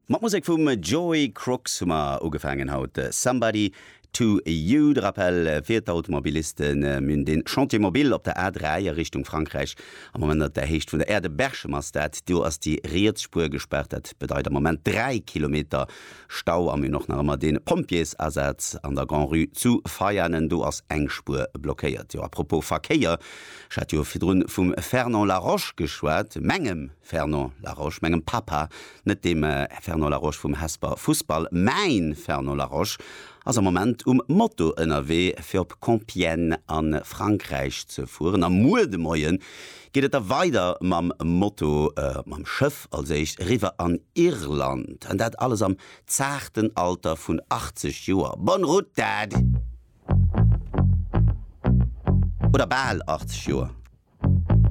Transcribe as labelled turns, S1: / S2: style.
S1: Mat Musek vum Joey Crooks hu mer ugefaangen haut. Somebody to You. De Rappel fir d'Automobilisten, Mir hunn den Chantier mobile op der A3 a Richtung Frankräich am Moment op der Héicht vun der Aire de Berchem ass dat. Do ass déi riets Spuer gespaart. Dat bedeit am Moment 3 Kilometer Stau. A mir hunn och nach ëmmer de Pompjeesasaz an der Grand-Rue zu Veianen. Do ass eng Spuer blockéiert. Jo, à propos Verkéier, ech hat jo virdrun vum Fernand Laroche geschwat, mengem Fernand Laroche, mengem Papa, net deem Fernand Laroche vum Hesper Fussball, mäin Fernand Laroche ass am Moment um Moto ënnerwee fir op Compiègne a Frankräich ze fueren a muer de Moie geet et da weider mam Moto, mam Schëff als éischt, eriwwer an Irland an dat alles am zaarten Alter vun 80 Joer. Bonne route Dad! Oder bal 80 Joer.